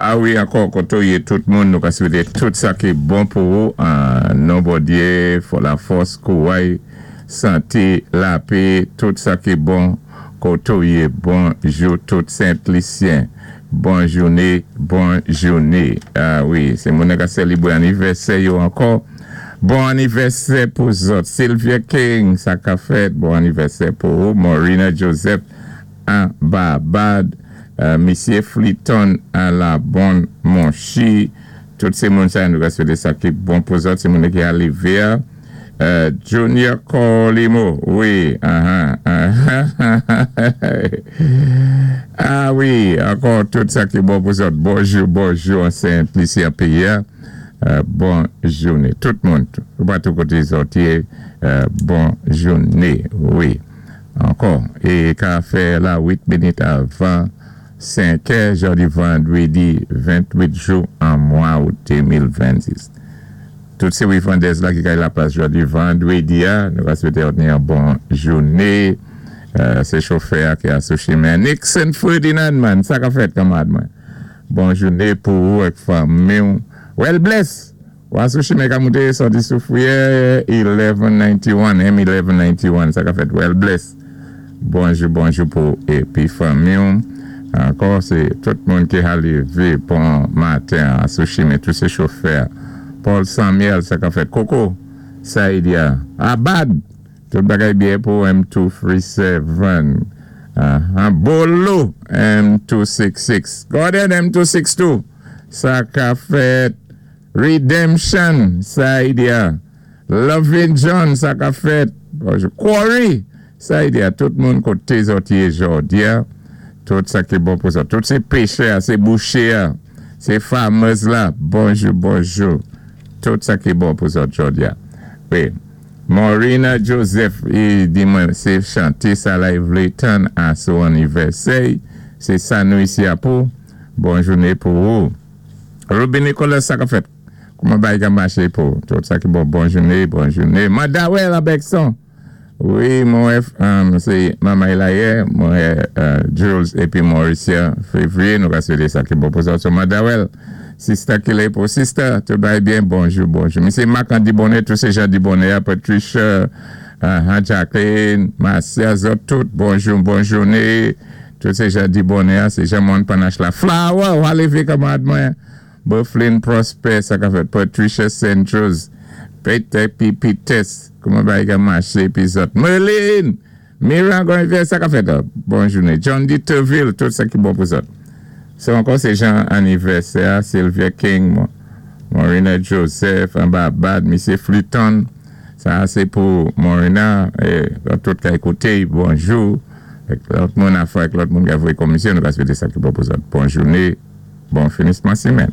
A wi, ankò koté ou yé tout moun, nou ka swété tout sa ki bon pou ou an non Bondyé, fò lafòs, kouway, santé, lapé, tout sa ki bon koté ou yé. Bonjou tout Sent Lisyen. Bon jouné, bon jouné. A wi, sé moun ka sélébwé anivèsè yo ankò. Bon anivèsè pou zòt. Sylvia King, sa ka fèt. Bon anivèsè pou ou. Maurina Joseph an Barbad. Misyé Fleeton an la bon Monchi. Tout sé moun sa nou ka swété sa ki bon pou zòt. Sé moun ki alivé. Junior Colimo, wi. A wi, ankò tout sa ki bon pou zòt. Bonjou, bonjou, an Sent Lisi péyi. Bon jouné. Tout moun, ou pa tout koté zòt yé, bon jouné, wi. Ankò, é ka fè la 8 minit avan 5 è, jòdi vandwédi 28 jou an mwa out 2026. Tout sé Wifandez la ki kay la plas jòdi vandwédi a, nou va swété ni yon bon jouné. Sé chofè a ki a sou chimen. Nixon Ferdinand man, sa ka fèt kanmad mwen. Bon jouné pou ou ak fanmi ou. Well bless! Wa sou chimen ka mouté sòti sou Freeway 1191, M1191, sa ka fèt well bless. Bonjou, bonjou pou épi fanmi ou. Ankò, sé tout moun ki lévé bon maten a sou chimen, tout sé chofè. Paul Samuel, sa ka fèt. Coco, Saïdia. Abad, tout bagay byen pou M237. Bolo, M266. Gordon, M262. Sa ka fèt. Redemption, Saïdia. Lovin John, sa ka fèt. Bonjou. Quarry, Saïdia. Tout moun koté zòt yé jòdi a. Tout sa ki bon pou zòt. Tout sé péchè, sé bouché, sé farmers la. Bonjou, bonjou. Tout sa ki bon pou zòt jòdi a. Wi. Maurina Joseph, i di mwen, sé chanté sa la i vlé tann a sou anivèsè. Sé sa nou isi a pou. Bon jouné pou ou. Ruby Nicolas, sa ka fèt. Kouman bagay ka maché pou tout sa ki bon. Bon jouné, bon jouné. Mandawel an Bexon. Wi, mwen sé Mama Elaye, mwen Jules épi Mauricia Février, nou ka swété sa ki bon pou zòt. So Mandawel, sister ki pou sister, tout bagay byen, bonjou, bonjou. Misyé Marc Andy Bonnet, tout sé Jean Bonnet, Patricia, Jacqueline, Marcia, zòt tout, bonjou, bon jouné. Tout sé Jean Bonnet, sé Jean Mon Panache la. Flower, ou lévé kanmad mwen. Bufflin Prosper, sa ka fèt. Patricia Centros, Peter P. Peters, kouman bagay ka maché, épi zòt. Merlin, Mira Gonvier, sa ka fèt. Bon jouné. John D. Terville, tout sa ki bon pou zòt. Sé ankò sé Jean anivèsè, Sylvia King, Maurina Joseph, an Barbad, Misyé Fluton, sa sé pou Maurina, é tout ka ékouté, bonjou. Lòt moun a fwa, lòt moun ki voyé komisyon, nou ka swété sa ki bon pou zòt. Bon jouné, bon finisman simèn.